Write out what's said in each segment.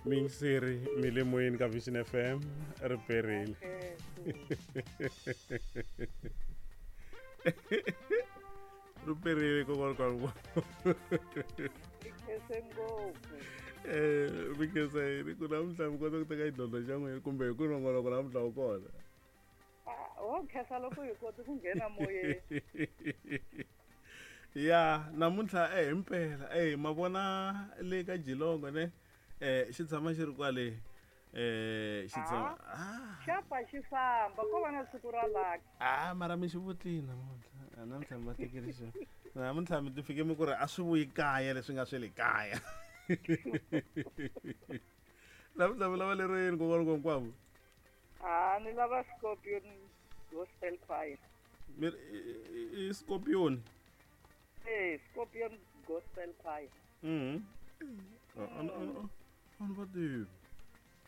Miyingiseri mi le moyeni ka Vision FM ri perile. Ri perile kokwani kwa. Khense ngopfu. Mi khensa yini ku namuntlha mi kota ku teka xidlodlo xa n'wina kumbe hi ku nongonoko namuntlha wu kona? Wo khensa loko hi kote ku nghena moyeni. Ya namuntlha himpela ma vona le ka Jilongo ne xi tshama xi ri kwale xi tshama xa pfa xi famba ko va na siku ra lucky. Mara mi xi vutlini namuntlha, namuntlha mi va tekele xona, namuntlha mi ti fike mi ku ri a swi vuyi kaya leswi nga swe le kaya. Namuntlha mi lava lero yini kokwani Nkowankwambo? Ni lava Scorpion Gospel Choir. Mi i Scorpion? Scorpion Gospel Choir. A ni va tivi.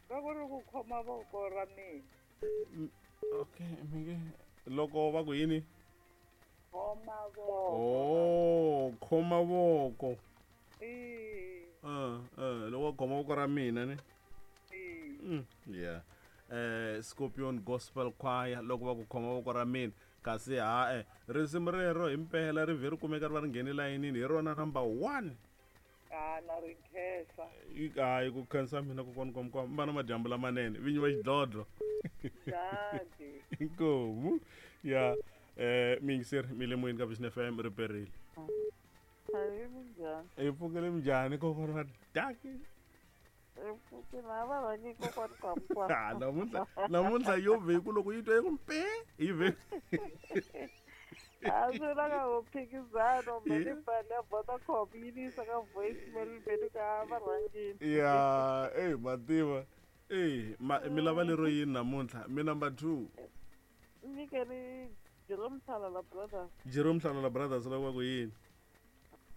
Va ku ri ku khoma voko ra mina. Okay, mi nge loko va ku yini? Khoma voko. Oh, khoma voko. Loko va khoma voko ra mina ni. Yeah. Scorpion Gospel Choir loko va ku khoma voko ra mina kasi ha risimu rero himpela ri vhe ri kumeka ri va ri nghene layinini hi rona number 1. Na ri khensa. Hayi ku khensa mina kokwani Nkowankwambo, mi va na madyambu lamanene vinyi va xidlodlo. Dadi. Inkomu. Ya miyingiseri mi le moyeni ka Vision FM ri perile. Hayi minjhani? Hi pfukile minjhani kokwani va daki? Namuntlha namuntlha yo vhe ku loko yi twa yi ku mpe yi vhe. A swi na ka ku phikizana mbe ni bani ya Vodacom yi ni yisa ka voicemail mbe ni ka va rhangile. Ya mativa mi lava lero yini namuntlha mi number 2? Nyikeni Jerome Hlalala Brothers. Jerome Hlalala Brothers lava ku yini?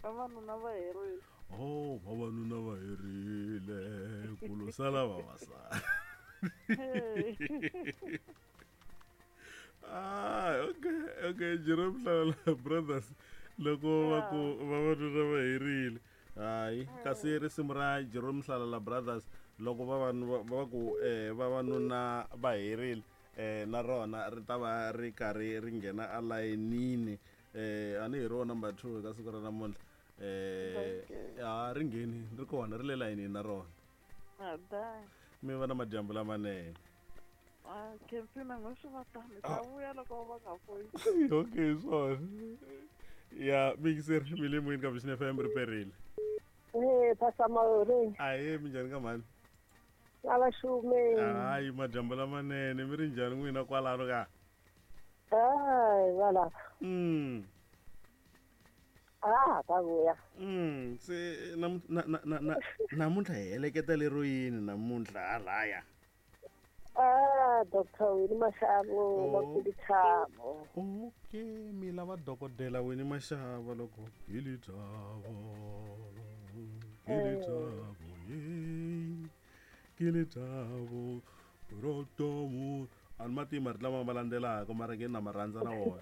Vavanuna va herile. Oh, vavanuna va herile ku lo sala vavasati. Okay, okay, Jerome Hlalala Brothers loko va ku vavanuna va herile. Hayi, kasi risimu ra Jerome Hlalala Brothers loko va ku vavanuna va herile na rona ri ta va ri karhi ri nghena alayinini. A ni hi rona number 2 ka siku ra namuntlha. Ri ngheni ri kona ri le layinini na rona. Mi va na madyambu lamanene. Khensina n'we swi va tano ta vuya loko va nga foyi. Okay, swona. Ya mixer mi le moyeni ka Vision FM ri perile. Pastor Maore. Ahe, minjhani ka mhani? Ala xume. Hayi, madyambu lamanene mi ri njhani n'wina kwalano ka? Hayi, valava. Ta vuya. Se namuntlha hi heleketa lero yini namuntlha halaya? Dr. Winnie Mashavo, va Kilithavo. Okay, mi lava dokodela Winnie Mashavo loko Kilithavo, Kilithavo, Kilithavo, rotomu. A ni ma tivi marito lama ma landzelaka mara nge na ma rhandza na wona.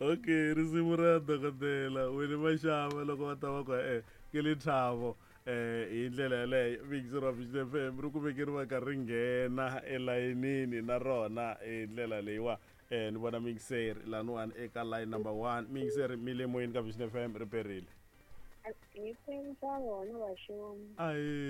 Okay, risimu ra dokodela Winnie Mashavo loko va ta va ku Kilithavo hi ndlela yaleyo Vixen ra Vision FM ri kumeke ri va ka ri nghena elayinini na rona hi ndlela leyiwa. Ni vona mixer laniwani eka line number 1. Mixer mi le moyeni ka Vision FM ri perile. Hi khensa vona vaxomi. Ahe.